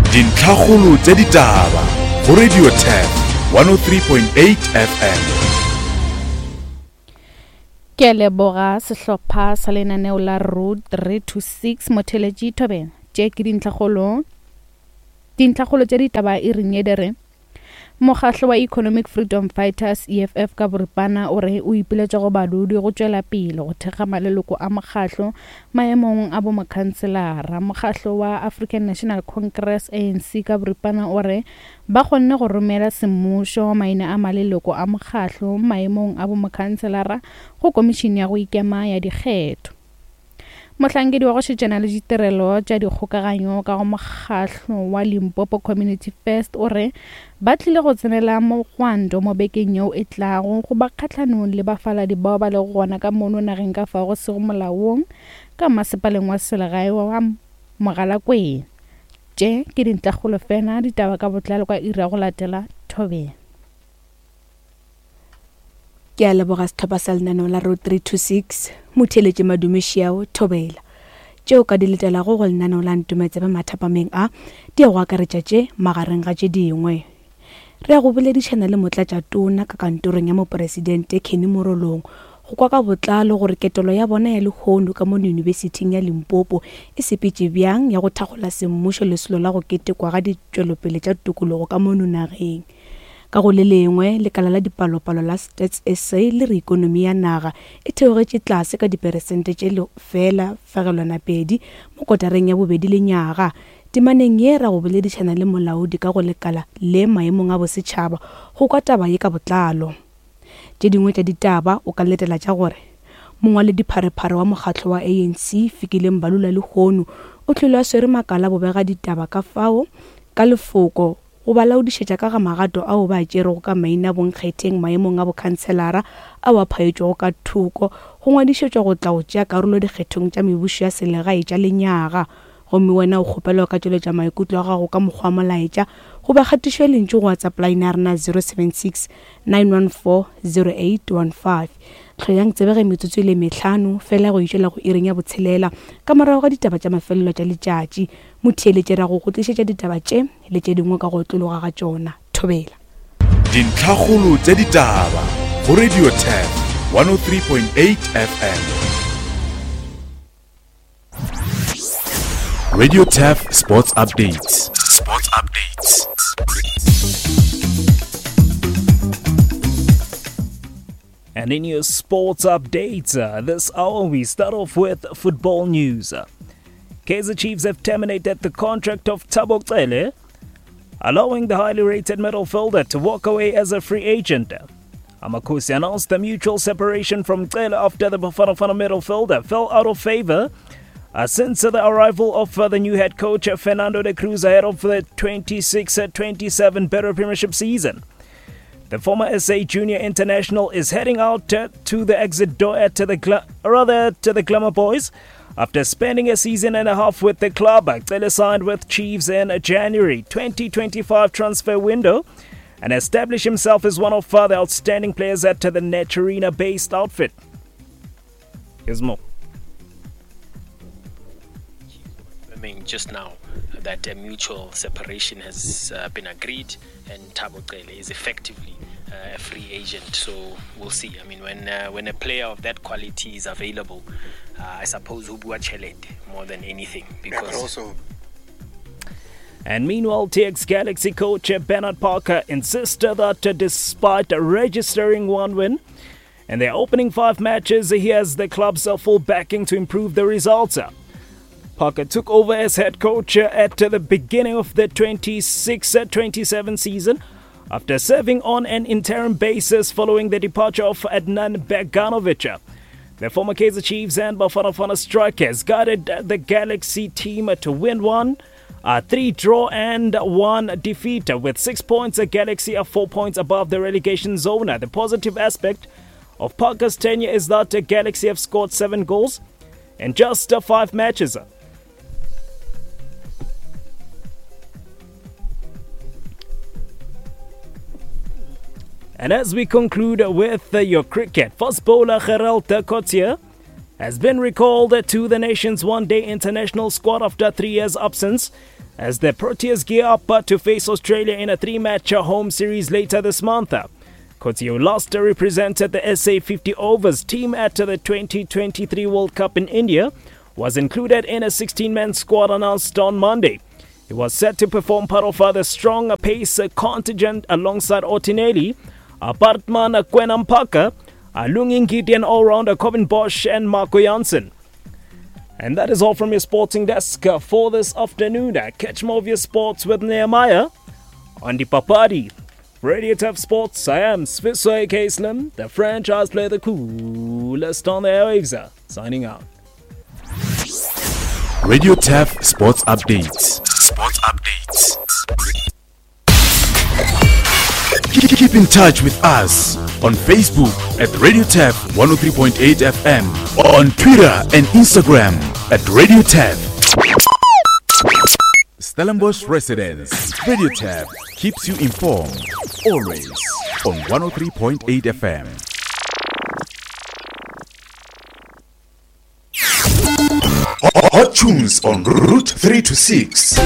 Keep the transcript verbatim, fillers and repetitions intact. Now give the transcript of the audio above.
Dintlhakgolo tša ditaba go Radio Turf one oh three point eight F M. Ke a leboga sehlopha sa lenaneo la Road three two six Motheletši Thobela. Tše ke dintlhakgolo. Dintlhakgolo tša ditaba e reng e re Mokgahlo wa Economic Freedom Fighters E F F ka boripana o re o ipiletša go badudi go tšwela pele go thekga maleloko a mokgahlo maemong a bomokhanselara. Mokgahlo wa African National Congress A N C ka boripana o re ba kgonne go romela semmušo maina a maleloko a mokgahlo maemong a bomokhanselara go komišene ya go ikema ya dikgetho. Mohlankedi wa go šetšana le ditirelo tša dikgokaganyo ka go mokgahlo wa Limpopo Community First o re ba tlile go tsenela mogwanto mo bekeng yeo e tlago go ba kgahlanong le bafaladi bao ba lego gona ka mono nageng ka fao go sego molaong ka masepaleng wa selegae wa Mogalakwena. Tše ke dintlhakgolo fela, ditaba ka botlalo ka iri ya go latela Thobela. Ke a leboga sehlopha sa lenaneo la Road three two six, Motheletši Madume Šiao, Thobela. Tšeo ka di letelago go lenaneo la Ntometsebe mathapameng a, di ya go akaretša tše magareng ga tše dingwe. Re ya go boledišana le motlatšatona ka kantorong ya mopresidente Kenny Morolong go kwa ka botlalo gore ketelo ya bona ya lehono ka mono Yunibesithing ya Limpopo e sepetše bjang ya go thakgola semmušo lesolo la go ketekwa ga ditšwelopele tša tokologo ka mono nageng. Ka go le lengwe, lekala la dipalopalo la Stats S A le re ikonomi ya naga e theogetše tlase ka diperesente tše lefela fegelwana pedi mo kotareng ya bobedi lenyaga. Temaneng ye ra go boledišana le molaodi ka go lekala le maemong a bosetšhaba go kwa taba ye ka botlalo. Tše dingwe tša ditaba o ka letela tša gore mongwaledipharephare wa mokgatlo wa A N C Fikile Mbalula lehono o tlile a swere makala bobega ditaba ka fao ka lefoko go ba laodišetša ka ga magato ao ba a tšerego ka maina bonkgetheng maemong a bokhanselara ao a phaetšwego ka thoko go ngwadišetšwa go tla go tšea karolo dikgethong tša mebušo ya selegae tša lenyaga. Gomme wena o kgopelwa ka tšweletša maikutlo a gago ka mokgwa wa molaetša goba kgatišo ya lentšu go WhatsApp line ya rena zero seven six nine one four zero eight one five. Hloyang tsebege metsotso e le mehlano fela go itšwela go iring ya botshelela ka morago ga ditaba tša mafelelo tša letšatši. Motheeletši ra go go tlišetša ditaba tše le tše dingwe ka go otlologa ga tšona. Thobela. Dintlhakgolo tša ditaba go Radio Turf one oh three point eight F M. Radio Turf Sports Updates. Sports Updates. And in your sports updates, uh, this hour we start off with football news. Kaizer Chiefs have terminated the contract of Thabo Cele, allowing the highly rated midfielder to walk away as a free agent. Amakosi announced the mutual separation from Cele after the Bafana Bafana midfielder fell out of favor uh, since the arrival of uh, the new head coach uh, Fernando de Cruz ahead of the twenty-six twenty-seven Betway Premiership season. The former S A Junior International is heading out uh, to the exit door at the gla- rather to the Glamour Boys after spending a season and a half with the club. Cele signed with Chiefs in January twenty twenty-five transfer window and established himself as one of the outstanding players at the Naturena-based outfit. Here's more. Confirming just now that a mutual separation has uh, been agreed and Thabo Cele is effectively uh, a free agent. So we'll see. I mean, when, uh, when a player of that quality is available, uh, I suppose ho bua tjhelete more than anything. Because yeah, but also. And meanwhile, T X Galaxy coach Bernard Parker insisted that despite registering one win in their opening five matches, he has the club's full backing to improve the results. Parker took over as head coach at the beginning of the twenty-six twenty-seven season after serving on an interim basis following the departure of Adnan Beganovic. The former Kaizer Chiefs and Bafana Bafana strikers guided the Galaxy team to win one, a three draw and one defeat. With six points, the Galaxy are four points above the relegation zone. The positive aspect of Parker's tenure is that the Galaxy have scored seven goals in just five matches. And as we conclude with your cricket, fast bowler Gerald Coetzee has been recalled to the nation's one-day international squad after three years' absence as the Proteas gear up to face Australia in a three-match home series later this month. Coetzee, who last represented the S A fifty overs team at the twenty twenty-three World Cup in India, was included in a sixteen-man squad announced on Monday. He was set to perform part of the strong pace contingent alongside Ottinelli, Baartman Kwena Maphaka, Lungi Ngidi and all-rounder Corbin Bosch and Marco Jansen. And that is all from your sporting desk for this afternoon. Catch more of your sports with Nehemiah on the Papadi. Radio Turf Sports, I am Sfiso A K Slim, the franchise player, the coolest on the airwaves, signing out. Radio Turf Sports Updates. Sports Updates. Keep in touch with us on Facebook at Radio Turf one oh three point eight F M, on Twitter and Instagram at Radio Turf. Stellenbosch residents, Radio Turf keeps you informed always on one oh three point eight F M. Hot tunes on Route three to six.